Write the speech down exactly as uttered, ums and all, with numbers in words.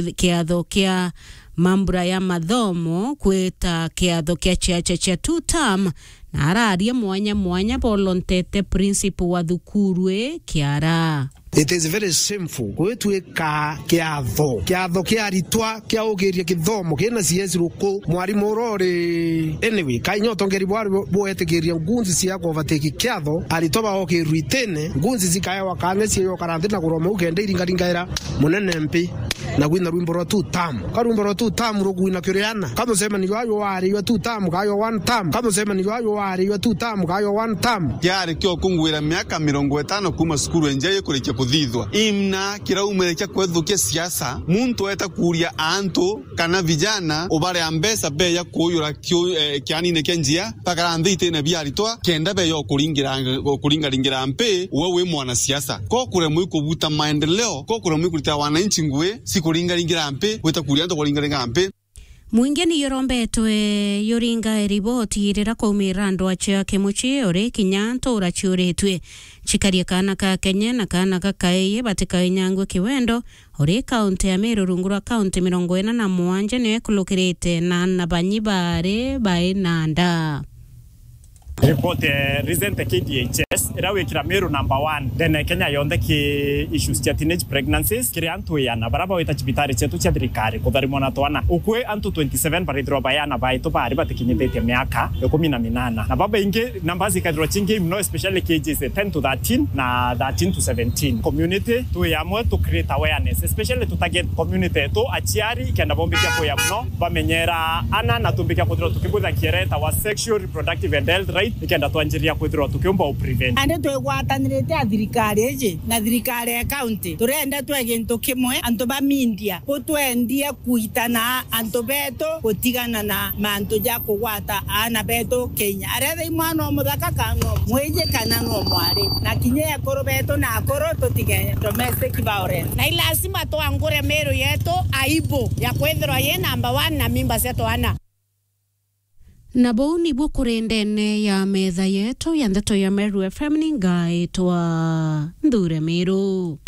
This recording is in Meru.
kiatho kia mambura ya mathomo kwita kiatho kia ciaca cia two term, na araria mwanya mwanya bolontete principal wa thukuru ii Kiara. It is very shameful gwitwika kiatho, kiatho kia aritwa kia ukiria kithomo kina C S ruku, mwarimu uria uri. Anyway, kai nyo utongeri bwari bwetikiria ngunzi cia kuvatiki kiatho, aritwa baokirwe itine, ngunzi cikaewa kanya cia yokara nthi na kuroma u kenda iringaringaira munene mpi na gwina rwimbo rwa two term. Ka rwimbo rwa two term rukwina kiri ana? Ka mucemanio jwa jwari jwa two term ka jwa one term? Ka mucemanio jwa jwari jwa two term ka jwa one term? Kiari kio kungwira miaka mirongo itano kuuma cukuru enjai kurikia kuthithwa. Imna kiraumire kia kwethukia siasa, muntu eta kuuria antu kana vijana ubarea mbeca beya kuuyura kiu-, eh, kianine kia njia, bakara nthi itine bia aritwa, kenda beya ukuringira, ukuringaringira mpi, we wi mwanasiasa. Ko kuremwa ikubuta maendeleo, ko kuremwa ikurita wananchi ngui, cikuringaringira mpi, gwita kuuria antu kuringaringira mpi. Mwingi ni yurombetwe yuringa riboti rira kwaumira andu acio a kimuci uri kinya ntura ciuritue cikarie kaana ka Kenya na kaana gakaii batikainyangue kiwendo, uri kaunti ya Meru rungu rwa kaunti mirongo ina na mwanja niyo ikulukirite na ana banyi bari bai na nda. Report, eh, recent K D H S, iria wikira Meru number one ndene Kenya yonthe ki issues cia teenage pregnancies, kiri antu iana baria bawita cibitari cietu cia thirikari kutharimwa na twana. Ukui antu twenty-seven barithirwa bayana baitu bari batikinyithitie miaka ikumi na minana. Na babaingi numbers ikathirwa cingi muno, especially K Gs ten to thirteen na thirteen to seventeen. Community twi amwe tu create awareness, especially tu target community yetu, aciari, kenda bombikia kuya muno, bamenyera ana na tumbikia kwithirwa tukibutha kiere tawa sexual reproductive and health right, nikenda twanjiria kwithirwa tukiumba u prevent. Andi twigwatanirite a thirikari iji na thirikari ya county, turenda twe gintu kimwe, antu ba media, butwendie kuitana antu betu gutigana na mantu ja kugwata aana betu Kenya. Aretha i mwana o muthaka kana no mwiji kana no mwari, na kinya ekuru betu na akuru tutige domestic violence. Na i lazima twangure Meru yetu aibu ya kwithirwa yi number one na mimba cia twana. Na buu nibu kuri ndene ya metha yetu ya ndeto ya Meru F M, ni ngaitwa Nthure Miru.